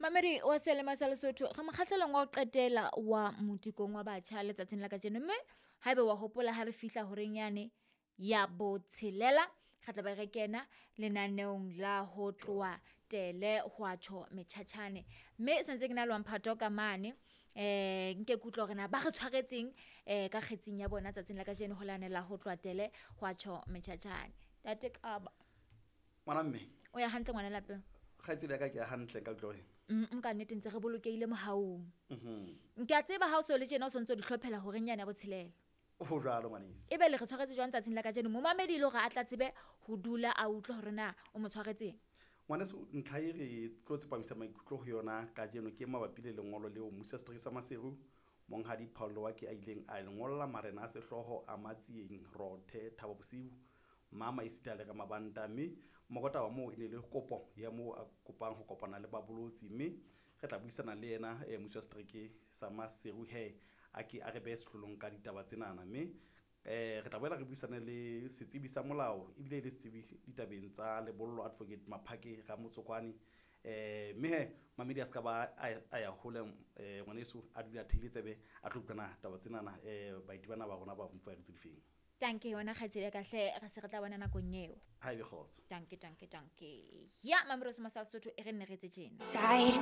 Mamedi wa seyalemoya sa Lesotho, re mokgahlelong wa ho qetela wa motikong wa batjha letsatsing la kajeno. Mme haeba wa hopola ha re fihla horeng yane ya botshelela, re tla be re kena lenaneong la ho tloha tele hwa tjho metjhatjhane. Mme sentse ke na le wa mphato ka mane nke ke utlwe hore na ba re tshwaretseng ka kgetsing ya bona tsatsing la kajeno ho lane la ho tloha tele hwa tjho metjhatjhane. Ntate Qaba. Ngwana mme. O ya hantle ngwana lapeng? Kgaitsedi ya ka ke ya hantle nka utlwa wena. Nka nnete ntse re bolokehile mohaung. Ke a tseba ha o so le tjena o sontso di hlophela horeng yane ya botshelela. Ho jwalo ngwaneso. Ebe le re tshwaretse jwang tsatsing la kajeno? Momamedi le hore a tla tsebe ho dula a utlwe hore na o mo tshwaretseng. Ngwaneso, ntlha e re tlo tsepamisa maikutlo ho yona kajeno ke mabapi le lengolo leo mmusi wa setereke sa Maseru Monghadi Paul Loaki a ileng a le ngolla marena a sehlooho a Matsieng, Rothe, Thabo Bosiu, Mama esita le Ramabanta, mme mokotaba moo e ne le kopo ya moo a kopang ho kopana le babolotsi, mme re tla buisana le yena mmusi wa setereke sa Maseru he a ke a re behe sehlolong ka ditaba tsenana, mme re tla boela re buisane le setsebi sa molao ebile e le setsebi ditabeng tsa lebollo Advocate Maphake Ramotsokwane, mme he mamedi a se ka ba a ya hole, ngwaneso a dula a theile tsebe a tlo utlwana taba tsenana, baeti bana ba rona ba mfuaretse difeng. Tanke wena kgaitsedi ya ka hle, re se re tla bona nakong eo. Ha ebe kgotso. Tanke, tanke, tanke. Ya Mamedi wa Sema sa Lesotho e re nne re etse tjena. Side.